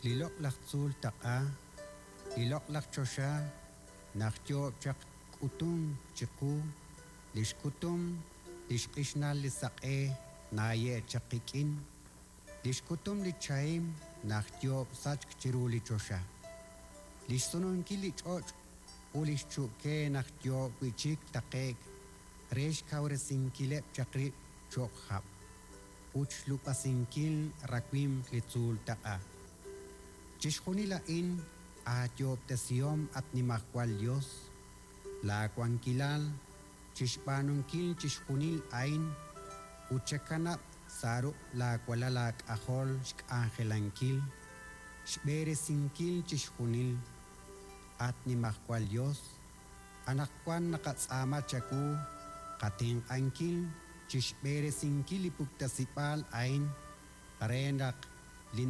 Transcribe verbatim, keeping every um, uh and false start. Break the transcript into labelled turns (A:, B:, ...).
A: Li loq'laj tzuul taq'a, li loq'laj choxa naq yoob' chaq k'utunk chiqu, li xkutum li xq'ixnal li saq'e naaye' chaq qik'in, li xkutum li chahim naq yoob' sachk chiru li choxa, li xsununkil li ch'och' ut li xchu'ke naq yoob' wi' chik taqe'k re xkawresinkileb' chaq rib' cho'q hab' ut xlub'asinkil rawimq li tzuul taq'a. Chixjunil a'in aayoob'tesihom at Nimajwal Yos, laawankilal chi xb'aanunkil chixjunil a'in ut chakanab' sa' ruq' laawalal aak'ajol xk'anjelankil, xb'eresinkil chixjunil. At Nimajwal Yos, anaqwan naqatz'aama chawu qatenq'ankil chi xb'eresinkil li puktasib'aal a'in re naq li